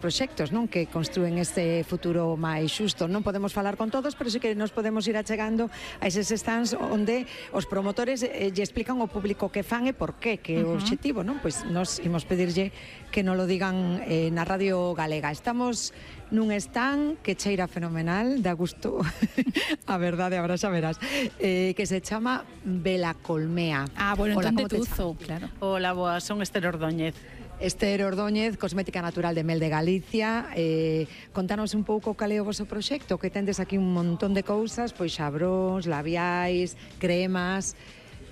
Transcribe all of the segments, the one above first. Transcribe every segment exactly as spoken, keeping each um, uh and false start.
proxectos, non, que construen este futuro máis xusto. Non podemos falar con todos, pero sí que nos podemos ir achegando a eses stands onde os promotores eh, lle explican ao público que fan e por qué, que é o obxectivo, non? Pois nos imos pedirlle que nos lo digan eh, na Radio Galega. Estamos nun stand que cheira fenomenal, da gusto a verdade, agora xa verás, eh, que se chama Vela Colmea. Ah, bueno, Hola, entón como te Tuzo, chamas? claro. Hola, boa, son Esther Ordóñez. Esther Ordóñez, cosmética natural de Mel de Galicia. eh, Contanos un pouco cal é o vosso proxecto, que tendes aquí un montón de cousas, pois xabróns, labiais, cremas.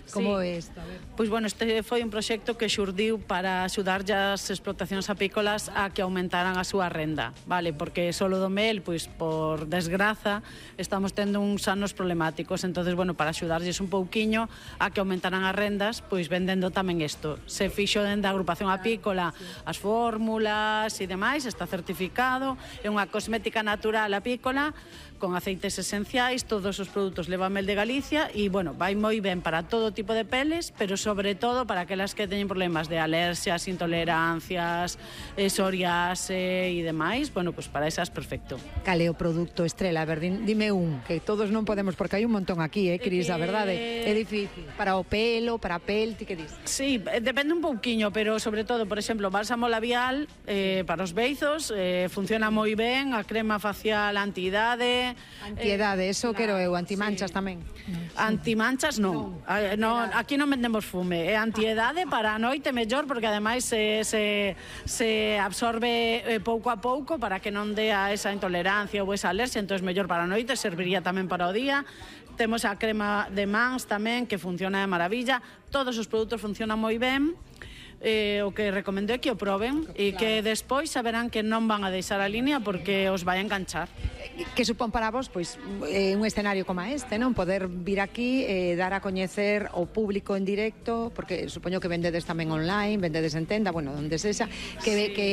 Como é isto? A ver. Pois, bueno, este foi un proxecto que xurdiu para axudarlle as explotacións apícolas a que aumentaran a súa renda, vale? Porque solo do mel, pois, por desgraza, estamos tendo uns anos problemáticos. Entonces, bueno, para axudarlles un pouquiño a que aumentaran as rendas, pois vendendo tamén isto. Se fixo dende a agrupación apícola as fórmulas e demais, está certificado, é unha cosmética natural apícola con aceites esenciais, todos os produtos leva Mel de Galicia e, bueno, vai moi ben para todo tipo de peles, pero sobre todo para aquelas que teñen problemas de alerxias, intolerancias, eh, psoriase e demais, bueno, pues para esas perfecto. Cal é o produto estrela? A ver, dime un, que todos non podemos, porque hai un montón aquí, eh, Cris, a verdade, é difícil. Para o pelo, para a pel, ti que dis? Sí, depende un pouquiño, pero sobre todo, por exemplo, bálsamo labial eh, para os beizos, eh, funciona moi ben, a crema facial anti-idade. Antiedade, eh, eso quero eu, antimanchas sí. tamén. Antimanchas non. No. No, aquí non vendemos fume, é antiedade para a noite mellor, porque ademais se, se, se absorbe eh, pouco a pouco para que non dea esa intolerancia ou esa alergia, entón mellor para a noite, serviría tamén para o día. Temos a crema de mans tamén, que funciona de maravilla. Todos os produtos funcionan moi ben. Eh, o que recomendo é que o proben e que despois saberán que non van a deixar a línea porque os vai a enganchar. Que supón para vos, pois, eh, un escenario como este, non? Poder vir aquí e eh, dar a coñecer ao público en directo, porque supoño que vendedes tamén online, vendedes en tenda, bueno, onde sexa, que, sí. que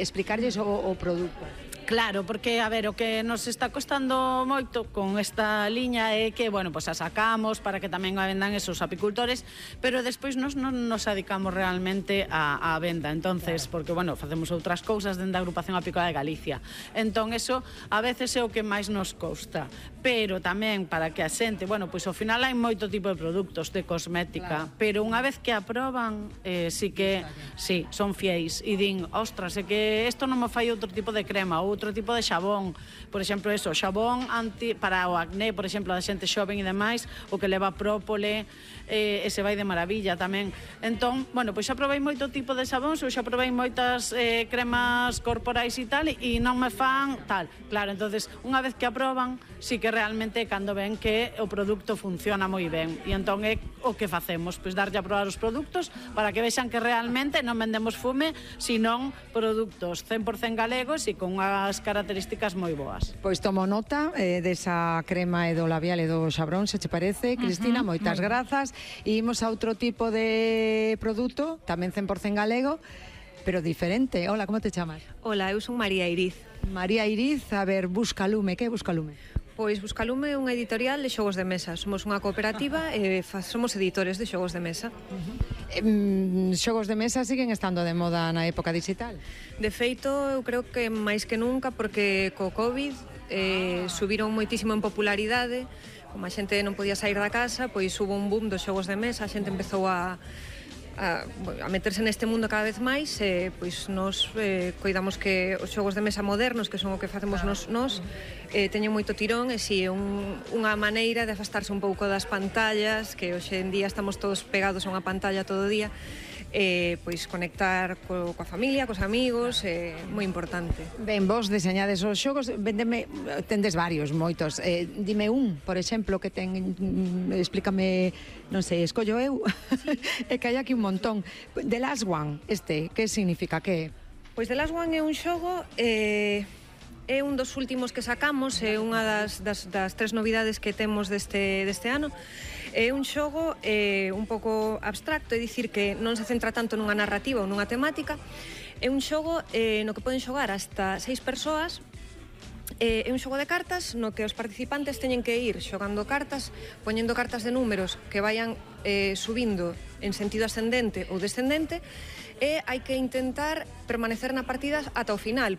explicarlles o, o produto. Claro, porque, a ver, o que nos está costando moito con esta liña é que, bueno, pues a sacamos para que tamén a vendan esos apicultores, pero despois nos non nos dedicamos realmente a, a venda, entonces, porque, bueno, facemos outras cousas dentro da agrupación apícola de Galicia. Entón, eso a veces é o que máis nos costa, pero tamén para que a xente, bueno, pois ao final hai moito tipo de produtos de cosmética, claro. Pero unha vez que aproban, eh, sí que, sí, son fieis e din, ostras, é que isto non me fai outro tipo de crema ou outro tipo de xabón, por exemplo, eso, xabón anti, para o acné, por exemplo, da xente xoven e demais, o que leva própole, eh, ese vai de maravilla tamén. Entón, bueno, pois xa provei moito tipo de xabóns, ou xa provei moitas eh, cremas corporais e tal, e non me fan tal. Claro, entonces, unha vez que aproban, sí que realmente cando ven que o produto funciona moi ben. E entón é o que facemos, pois darlle a probar os produtos para que vexan que realmente non vendemos fume, senón produtos cen por cen galegos e con unhas características moi boas. Pois tomo nota eh, desa crema e do labial e do xabrón, se che parece, Cristina, uh -huh, moitas grazas. E imos a outro tipo de produto, tamén cen por cen galego, pero diferente. Hola, como te chamas? Hola, eu son María Iriz. María Iriz, a ver, Buscalume, que é Buscalume? Pois Buscalume é unha editorial de xogos de mesa. Somos unha cooperativa e eh, somos editores de xogos de mesa. Uh -huh. eh, xogos de mesa siguen estando de moda na época digital? De feito, eu creo que máis que nunca, porque co COVID eh, subiron moitísimo en popularidade. Como a xente non podía sair da casa, pois hubo un boom dos xogos de mesa, a xente empezou a A, a meterse neste mundo cada vez máis e pois nos eh, coidamos que os xogos de mesa modernos, que son o que facemos nos, nos eh, teñen moito tirón e si é un, unha maneira de afastarse un pouco das pantallas, que hoxe en día estamos todos pegados a unha pantalla todo o día, eh, pois conectar co, coa familia, cos amigos, é eh, moi importante. Ben, vos deseñades os xogos, vendeme, tendes varios, moitos, eh, dime un, por exemplo, que ten, explícame, non sei, escollo eu, sí. É que hai aquí un montón. The Last One, este, que significa, que é? Pois The Last One é un xogo, eh, é un dos últimos que sacamos, é unha das, das, das tres novidades que temos deste, deste ano. É un xogo eh, un pouco abstracto, é dicir que non se centra tanto nunha narrativa ou nunha temática. É un xogo eh, no que poden xogar hasta seis persoas. É un xogo de cartas no que os participantes teñen que ir xogando cartas, poñendo cartas de números que vayan eh, subindo en sentido ascendente ou descendente, e hai que intentar permanecer na partida ata o final,